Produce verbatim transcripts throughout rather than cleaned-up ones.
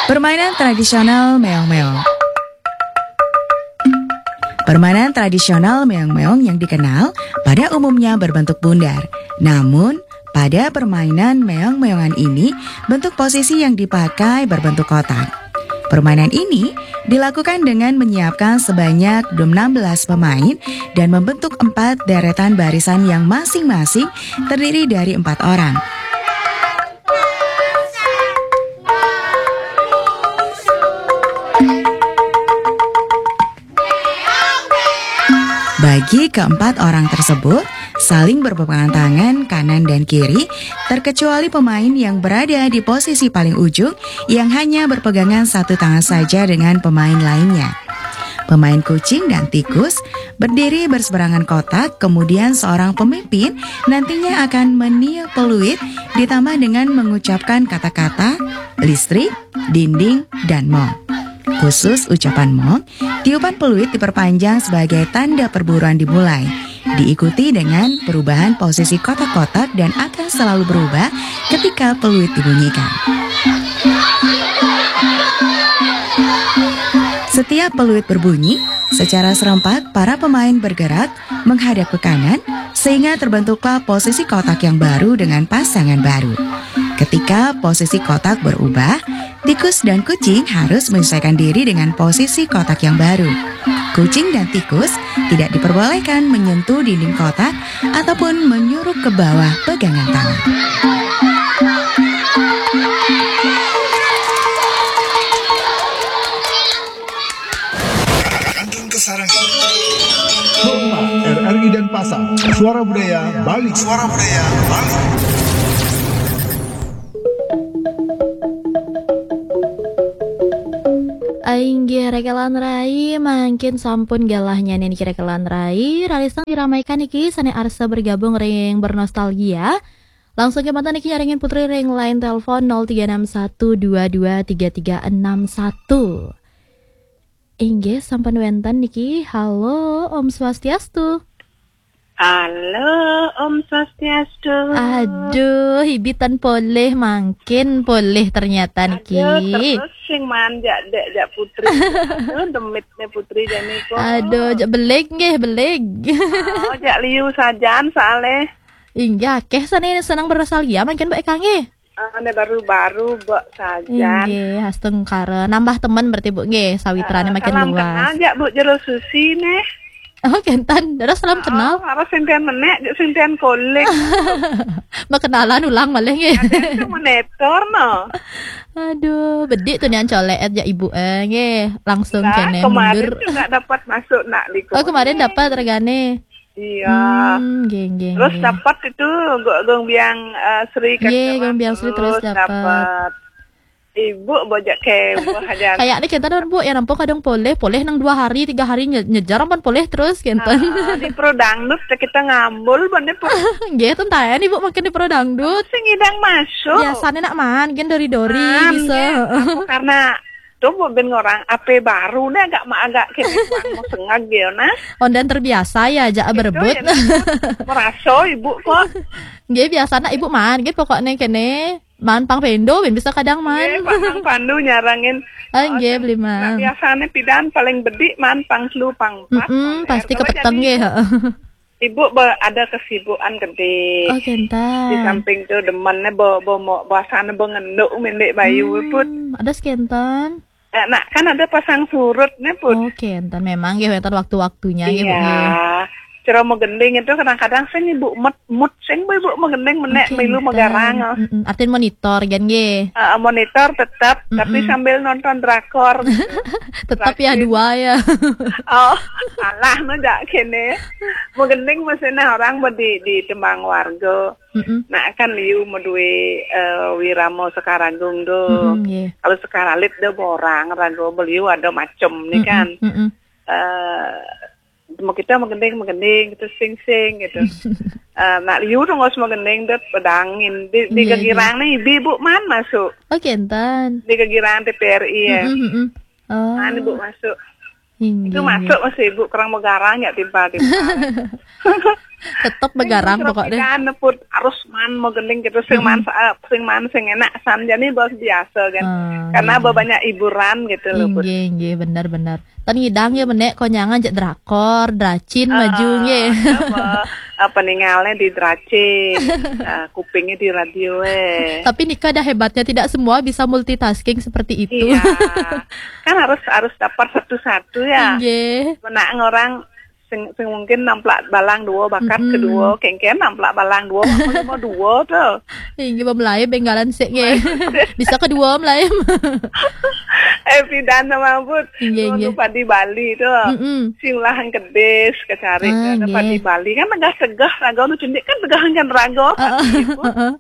Permainan tradisional meong-meong. Permainan tradisional meong-meong yang dikenal pada umumnya berbentuk bundar. Namun, pada permainan meong-meongan ini, bentuk posisi yang dipakai berbentuk kotak. Permainan ini dilakukan dengan menyiapkan sebanyak enam belas pemain dan membentuk empat deretan barisan yang masing-masing terdiri dari empat orang. Bagi keempat orang tersebut, saling berpegangan tangan kanan dan kiri, terkecuali pemain yang berada di posisi paling ujung yang hanya berpegangan satu tangan saja dengan pemain lainnya. Pemain kucing dan tikus berdiri berseberangan kotak, kemudian seorang pemimpin nantinya akan meniup peluit ditambah dengan mengucapkan kata-kata listrik, dinding, dan mong. Khusus ucapan mong, tiupan peluit diperpanjang sebagai tanda perburuan dimulai, diikuti dengan perubahan posisi kotak-kotak dan akan selalu berubah ketika peluit dibunyikan. Setiap peluit berbunyi, secara serempak para pemain bergerak menghadap ke kanan, sehingga terbentuklah posisi kotak yang baru dengan pasangan baru. Ketika posisi kotak berubah, tikus dan kucing harus menyesuaikan diri dengan posisi kotak yang baru. Kucing dan tikus tidak diperbolehkan menyentuh dinding kotak ataupun menyuruk ke bawah pegangan tangan. Kantun Kesarangan. Hormat R R I Denpasar. Suara Budaya Bali. Suara Budaya Bali. Inggih, rekelan rai, mangkin sampun galahnya niki rekelan rai. Rarisang diramaikan niki sane arsa bergabung ring bernostalgia. Langsung kemawon niki nyarengin Putri ring line telepon nol tiga enam satu dua dua tiga tiga enam satu. Inggih, sampun wenten niki. Halo, Om Swastiastu. Halo, Om Swastiastu. Aduh, Ibi tan polih, mangkin polih ternyata niki. Aduh, terus sing manjak dek jak Putri. Aduh, demitne Putri jane kok. Aduh, jak beleg nggih, beleg. Oh, jak liu sajan soale. Inggih, akeh sane seneng bernostalgia mangkin Mbak Eka nggih. Ane baru-baru, Mbok, sajan. Inggih, astungkara. Nambah temen berarti, Bu, nggih, sawitrane makin luas. Salam kenal, jak, Bu, jero Susi, neh. Oh, kenten. Dados salam kenal. Oh, harus sinten menek, jak sinten kolik. Makenalan ulang malih, nggih. Kadang tuh monitor, no. Aduh, bedik tuh nian colek, jak Ibu, eh, nggih. Langsung kene mundur. Kemarin juga dapat masuk, nak, di. Oh, kemarin dapat regane. Iya. Hmm, nggih, nggih, terus nggih. Dapat itu, Gung, Gung Biang, eh, Sri. Nggih, Gung Biang Sri terus dapat. Dapat. Ibu bojak keweh aja. Kayaknya kita don, Bu, ya nampung kadang poleh, poleh nang dua hari, tiga hari nye-, nyejar ampun poleh terus, kenten. Ah, di Pro Dangdut kita ngambul, bane, Bu. Nggih, ten tayan, Ibu, makin di Pro Dangdut. Sing ngidang masuk. Biasanya nak man, gen dori-dori, man, bisa. Nggih. Aku karena Tuh, Bu, ben ngorang ape baru nih, agak ma-, agak kene kurang mau sengag ya, nah. Ondan terbiasa ya, jak berebut. Ya, berebut. Merasa Ibu kok. Nggih, biasa nak Ibu man, nggih pokoknya kene. Man pang pendo, ben bisa kadang man. Nggih, Pak Mang Pandu nyarangin. Ah, nggih, beli man. Nah, biasanya pidan paling bedik man pang telu pang empat. Mm-mm, pang pasti R K W kepeteng jadi nggih, heeh. Ibu be-, ada kesibukan gede. Oh, kenten. Di samping tu demennya be-, be-, mo-, bahasanya be ngenduk mendek bayu, hmm, put. Ada sekenten. Eh, nak, kan ada pasang surut nih, put. Oh, kenten. Memang ya, wenten waktu-waktunya ya, Bu, iya, ya. Cara mau gending itu kadang-kadang sing Ibu met-, mut sing, Bu, Ibu mau gending menek, oh, milu kenten. Megarang, oh. Mm-mm. Artin monitor, kan, nggih? Eh, monitor tetap, tapi, mm-mm, sambil nonton drakor. Tetap ya, dua ya. Oh, salah no jak kene. Mau gending mesti nah orang mau di, di tembang warga. Mm-mm. Nah, kan liu mau duwe, eh, wiramo Sekaragung do. Mm-mm, nggih. Kalau Sekaralit do borang, rago beliau ada macem nih, mm-mm, kan. Mm-mm. Eh, mau kita mau gending, mau gending, gitu, sing-sing, gitu. Eh, nak liu dong, mau gending, dot pedangin. Di, di, nggih, gegirang nggih. Nih, Ibu man masuk. Oh, kenten. Di gegirang T V R I ya. Mm-mm, mm-mm. Oh. Nah, Ibu masuk. Inggih, itu inggih. Masuk masih Ibu kurang megarang ya timpal-timpal. Tetep begarang pokoknya. Kan put harus man mau gending gitu, sing man sa- sing man sing enak san, jadi bos biasa kan. Ah, karena banyak hiburan gitu loh, put. Inggih, inggih, bener-bener. Tan ngidang ya menek konyangan cek drakor, dracin, maju nggih. Apa, apa ningalnya di dracin, eh, kupingnya di radio eh. Tapi nikah ada hebatnya, tidak semua bisa multitasking seperti itu. Iya. Kan harus harus dapat satu-satu ya. Inggih. Menak orang sing, sing mungkin namplak balang dua, bakat kedua, kengken namplak balang dua, mau dua tuh. Inggih, mau mulai benggalan sik nggih. Bisa kedua mulai. Eh, pidan sama put. Inggih, inggih. Padi Bali tuh. Mm-mm. Sing lahan kedis kecari. Ah, ada nggih. Padi Bali kan tegah-tegah raga nu cendik kan tegah kan raga. Heeh, padi put. Heeh.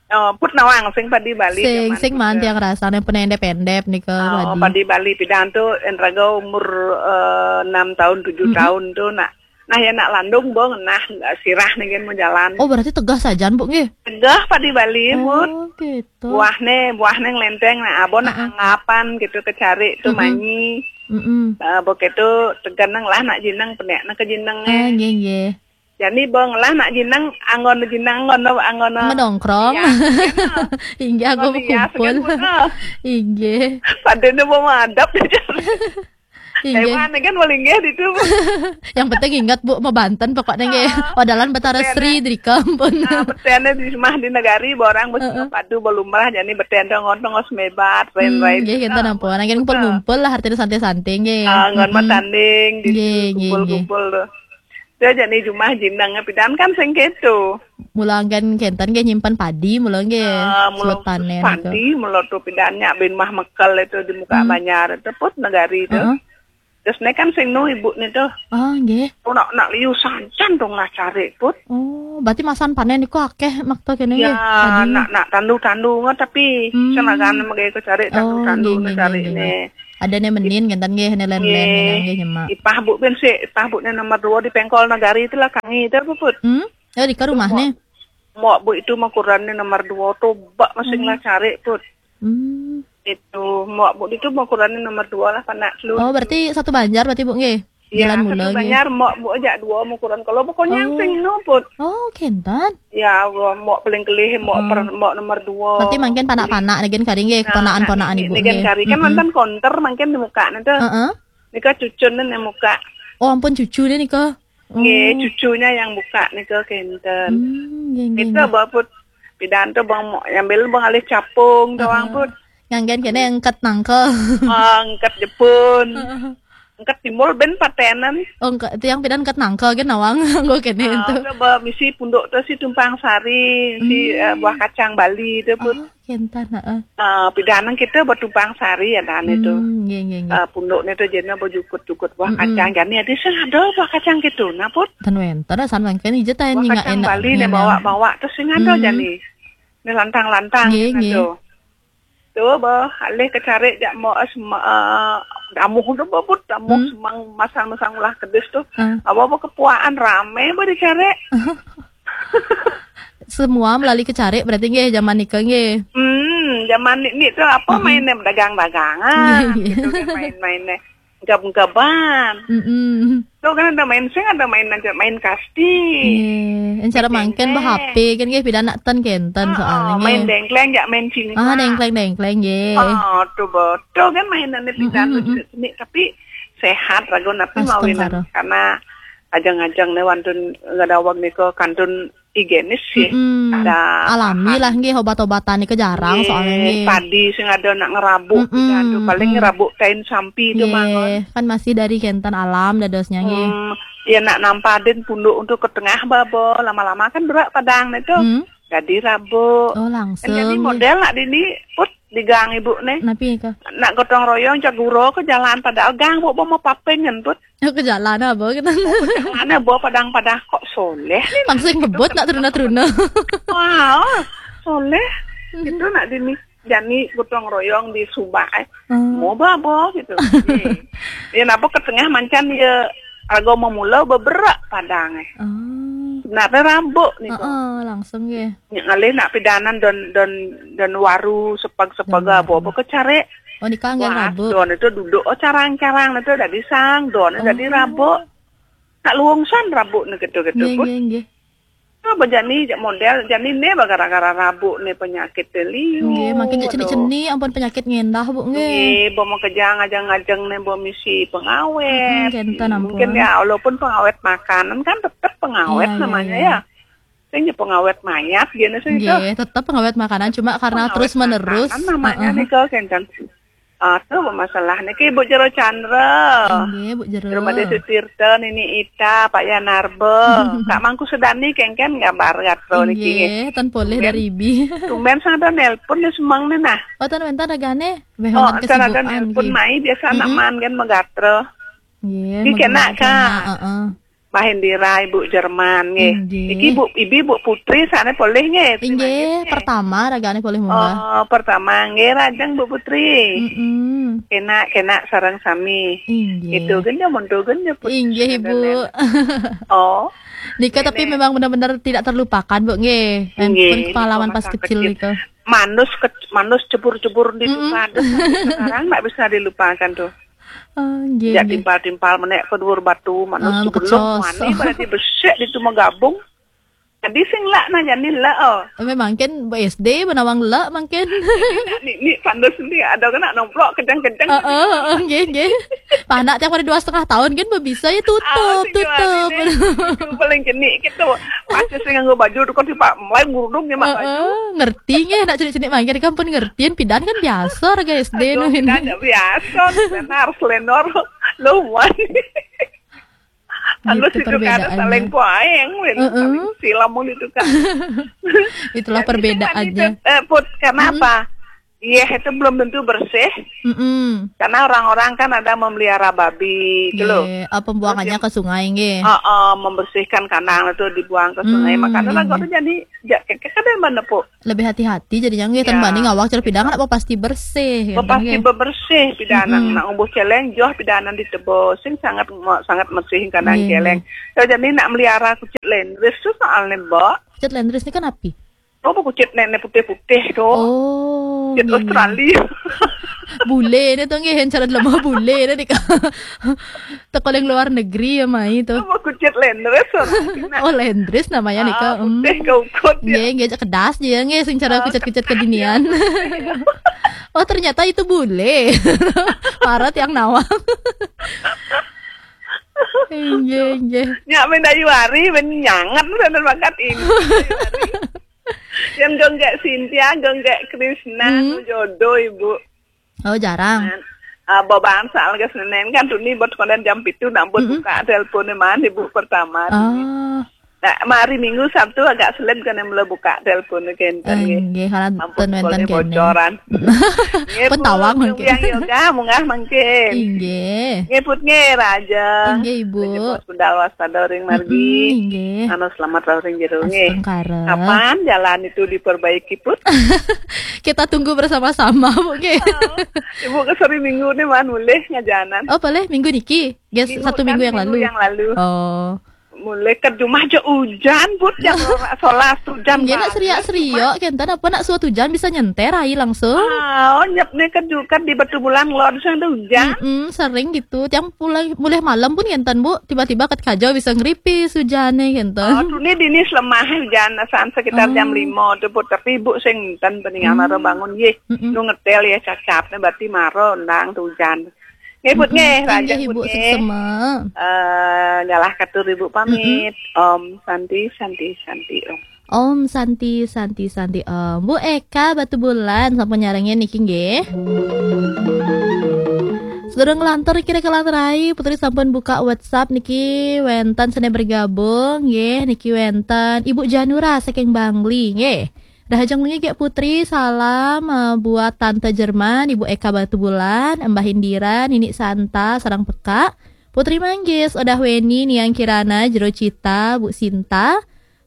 Oh, put nawang sing padi Bali. Sing, zaman sing put man ya. Tiang rasanya penendep-endep nih ke. Oh, padi. Padi Bali pidan tuh en raga umur eh, enam tahun, tujuh tahun tuh nak. Nah ya nak landung bong nah sirah nih kan mau jalan. Oh, berarti tegah sajan, Bu, nggih? Tegah padi Bali, put. Oh, gitu. Buahne, buahne ngelenteng nah abon nak anggapan gitu kecari tuh manyi. Mm-mm. Eh, begitu teganang lah nak jinang penek nak ke jinang. Ah, nggih, nggih. Jadi bong lah nak jinang anggon jinang anggon anggon. Ngedongkrong. Ya, gitu. Inggih, aku kumpul. Inggih. Padahal mau madap aja. Inggih. Emang kan paling nggih itu. Yang penting ingat, Bu, mau Banten pokoknya nggih. Wadalan Betara Sri di kampung. Nah, betene di rumah di negari, borang bos padu belum merah, jadi betene ngontong os mebat, lain-lain. Nggih, kita nampuan. Nggih, ngumpul-ngumpul lah, artinya santai-santai nggih. Ah, ngon matanding, di kumpul-kumpul tuh. Dia jadi jumah jinang pidan kan sing gitu. Mula anggen kenten nggih nyimpen padi, mula nggih. Ah, mula sulut panen padi, mula tuh pidan nyak bin mah mekel itu di muka banjar itu put negari itu. Heeh. Terus nih kan sing nu ibu nih tuh. Oh, nggih. Nak nak liu sajan dong lah cari put. Oh, berarti masan panen iku akeh makta kene nggih. Ya, nak nak tandu-tandu nggak tapi senajan mengke cari tandu-tandu nggih, nggih, cari nggih, nih. Ada nih menin kenten nggih, nih len-len nggih nyemak. Ipah bu ben sih, ipah bu nih nomor dua di pengkol negari itu lah kangi itu apa put? Hmm? Ya di rumah nih. Mok bu itu makurannya nomor dua tuh bak masing lah cari put. Hmm. Itu mok bu itu makurannya nomor dua lah panak lu. Oh, berarti satu banjar berarti, Bu, nggih? Ya, jalan mula satu nggih. Banjar mok bu aja dua makuran. Kalau pokoknya sing no put. Oh, kenten. Ya, mok paling kelih mok per, mok nomor dua. Berarti mungkin panak-panak nggih kari nggih, ponakan-ponakan ibu nggih. Nggih kari kan mantan konter mungkin di muka nanti. Heeh. Nika cucun nih muka. Oh, ampun cucu deh nika. Nggih, cucunya yang buka nika kenten. Hmm, nggih, nggih. Kita bawa put pidan tuh bang yang bel bang alih capung doang put. Nganggen kene engket nangke. Oh, engket Jepun. Engket timbul ben patenan. Oh, engket tiang pidan engket nangke gen nawang nggo kene itu. Coba misi punduk tuh si Tumpang Sari, si eh, buah kacang Bali itu put. Oh, kenten, heeh. Eh, pidanang kita bertumpang sari ya dan itu. Hmm, nggih, nggih, nggih. Eh, punduknya tuh jadinya berjukut-jukut buah kacang. Jadi ada sing ada buah kacang gitu. Nah, put. Ten wenten san mangken ije ta buah kacang Bali nih bawa-bawa terus sing ada jadi. Ini lantang-lantang gitu. Tuh, bah, alih kecari jak mau es eh, damuh tuh bebut damuh semang masang-masang ulah kedis tuh. Apa apa kepuaan rame bah dicari. Semua melalui kecari berarti nggih zaman nika nggih. Hmm, zaman ni, ni tu apa main ni dagang-dagangan. Nggih, nggih. Gitu kan main-main ni. Gab-gaban. Mm-mm. Tu kan ada main sing ada main aja main kasti. Nggih, cara mangken bah H P kan nggih pidan nak ten kenten soalnya nggih. Main dengkleng jak main cinta. Ah, dengkleng-dengkleng nggih. Oh, tu betul kan mainan ni pidan ni tapi sehat ragu napi mawinan karena ajang-ajang ni wantun ngadawag ni ke kantun higienis sih. Ada alami lah nggih obat-obatan ni ke jarang soalnya nggih. Padi sing ada nak ngerabuk tu paling ngerabuk kain sampi tu mangon. Kan masih dari kenten alam dadosnya nggih. Hmm, ya nak nampadin punduk untuk ke tengah babo lama-lama kan berat padang ni tu. Jadi rabuk. Oh, langsung. Kan jadi model nak dini put di gang ibu ni. Napi ke? Nak gotong royong cak guro ke jalan padahal gang bu mau paping kan put. Ke jalan apa kita? Mana bawa padang-padang kok soleh ni. Langsung bebut nak teruna-teruna. Wah, soleh. Itu nak dini. Jadi gotong royong di Subak eh. Mau babo gitu. Ya napa ke tengah mancan ya raga memula beberak padang eh. Sebenarnya rabuk ni tu. Heeh, langsung ya. Ngalih nak pidanan don don don waru sepag-sepag apa apa ke cari. Oh, nikah nggak rabuk. Don itu duduk oh carang-carang itu dari sang don itu dari rabuk. Nak luungsan rabuk ne gitu-gitu, nggih, pun. Nggih, nggih. Apa jani jak model, jani ne gara-gara rabuk ne penyakit liu. Nggih, makin jak cenik-cenik ampun penyakit ngendah, Bu, nggih. Nggih, bo mau kejang ajang-ajang ne bo misi pengawet. Mm-mm, kenten ampun. Mungkin ya, walaupun pengawet makanan kan tetap pengawet, iya, iya, namanya, iya, ya. Sing ya pengawet mayat, dia sing itu. Nggih, tetap pengawet makanan, cuma karena pengawet terus-menerus. Makanan namanya. Heeh. Nika, kenten. Aduh, masalah niki, Bu Jero Chandra. Inggih, Bu Jero. Rumah Desa Tirta, Nini Ita, Pak Yanarba. Kak Mangku Sedani kengken gambar gatro niki. Inggih, tan polih tumben dari Ibi. Tumben sang ada nelpon ni semang ni nah. Oh, tan wénten ragane. Wéh, oh, wénten tan ada kesibukan nelpon nggih. Mai, biasa anak, mm-mm, man kan magatra. Nggih, niki kena, Kak. Heeh. Mahendira, Ibu Jerman nggih. Inggih. Iki Bu, Ibi Bu Putri sana polih nggih. Inggih, terima kasih. Pertama ragane polih munggah. Oh, pertama nggih, rajang Bu Putri. Mm-mm. Kena, kena sareng sami. Inggih. Itu genya, mundur genya, Put. Inggih, Ibu. Oh. Nika tapi nenek memang benar-benar tidak terlupakan, Bu, nggih. Nggih, pengalaman pas kecil nika. Manus ke, manus cebur-cebur di, mm-mm, tukang. Terus sampai sekarang nggak bisa dilupakan tuh. Oh, nggih, nggih. Timpal-timpal menek ke dhuwur batu, manus. Ah, sebelum mekecos. Wani berarti besik di tu megabung. Jadi sing lak nanya ni lak, oh. Memang kan S D menawang lak mungkin. Ni, ni pandu sendiri ada kena nomplok kencang-kencang. Heeh, heeh, nggih, nggih. Panak tiang pada dua setengah tahun kan bisa ya tutup, ah, tutup. Paling jenik gitu. Masih sing nganggo baju tu kan si Pak mulai ngurudung ni mak baju. Heeh, ngerti nggih, nak cenik-cenik mangkir kan pun ngerti, pidan kan biasa raga S D. Aduh, nu ini. Pidan tak biasa, lenor, lenor, lumayan. Anu gitu situ kan perbedaannya. Saling poaeng, win. Heeh. Saling silam mun itu kan. Itulah perbedaannya. Dan itu kan itu, eh, Put, kenapa? Mm-mm. Iya, itu belum tentu bersih. Mm-mm. Karena orang-orang kan ada memelihara babi, itu loh. Iya, eh, pembuangannya ke sungai, nggih. Heeh, membersihkan kandang itu dibuang ke sungai. Mm, makanya lah, iya, kalau jadi, ya, kadang mana, Put? Lebih hati-hati jadinya nggih, ya. Tan bani ngawak cara pidan kan apa pasti bersih, ya, pasti bebersih pidanan. Mm-mm. Nak umbuh celeng joh pidanan ditebus. Sing sangat mo-, sangat bersih kandang celeng. Nggih, nggih. Ya, jadi nak melihara kucit lendris tu soalnya, Mbok. Kucit lendris ni kan api? Oh, kucit nenek putih-putih tu. Oh, kucit nggih, nggih. Australia. Bule ni tu nggih, cara lemah bule ni, Kak. Teko ning luar negeri ya mai tu. Apa kucit lendris orang? Oh, lendris namanya nih, ah, Kak. Hmm. Putih ke ukut ya. Nggih, nggih, kedas dia nggih sing cara kucit-kucit kedinian. Oh, ternyata itu bule. Parah tiang nawang. Nggih, nggih. Nyak main dayu hari, main nyangat sana bakat ini. Yang genggek Cynthia, genggek Krishna, hmm, nu jodoh ibu. Oh, jarang. Ah, babangsa lagi Senin kan tuni buat konden jam pitu nak buat, mm-mm, buka telepon ni man ibu pertama tuni. Ah. Nah, mari Minggu Sabtu agak selip kan yang mula buka telepon ni kenten. Eh, nggih, kalau ampun, ten wenten boleh kene. Bocoran. Nggih, Bu, petawang mungkin. Yang yoga munggah mungkin. Inggih. Nggih, Put nggih, Raja. Inggih, Ibu. Raja Pos Budal waspada ring margi. Mm-mm, inggih. Anu selamat ring jero nggih. Astungkara. Kapan jalan itu diperbaiki, Put? Kita tunggu bersama-sama, Bu, nggih. Oh, Ibu ke sore Minggu ni man mulih ngajanan. Oh, boleh minggu niki. Yes, minggu, satu minggu yang lalu. Minggu yang lalu. Oh. Mulai ke rumah je hujan, Put, jam solas hujan. Nggih, nak seriak-seriak kenten apa nak suat hujan bisa nyenter ai langsung. Ah, oh, nyep ni ke juga di Batu Bulan lo ada hujan. Mm-mm, sering gitu. Tiang mulai, mulai malam pun kenten, Bu. Tiba-tiba ket kajo bisa ngeripis hujan ni kenten. Oh, tu ni dinis lemah hujan, asan sekitar jam lima tu, Put. Tapi ibu sing ten peningan maro bangun, yeh. Mm-mm. Nu ngetel ya cacap ni berarti maro ndang tu hujan. Nggih, Put, nggih, mm-mm, rajah, inggih, Ibu, Put, nggih. Suksema. Eh, nyalah katur Ibu pamit. Mm-mm. Om Santi, Santi, Santi, Om. Om Santi, Santi, Santi, Om. Bu Eka Batu Bulan sampun nyarengin niki nggih. Sedurung ngelantur kira kelanturai, Putri sampun buka WhatsApp niki wenten sene bergabung nggih, niki wenten Ibu Janura saking Bangli nggih. Rahajeng wengi Gek Putri, salam, eh, buat Tante Jerman, Ibu Eka Batubulan, Mbah Indira, Nini Santa, sareng Peka, Putri Manggis, Odah Weni, Niang Kirana, Jero Cita, Bu Sinta,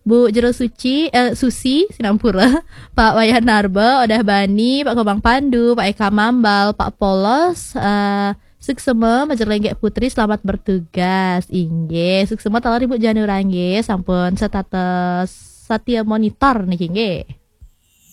Bu Jero Suci, eh, Susi, sinampura, Pak Wayan Narba, Odah Bani, Pak Gobang Pandu, Pak Eka Mambal, Pak Polos, eh, suksema, majeling Gek Putri, selamat bertugas. Inggih, suksema taler Ibu Janura nggih, sampun setata setia monitor niki nggih.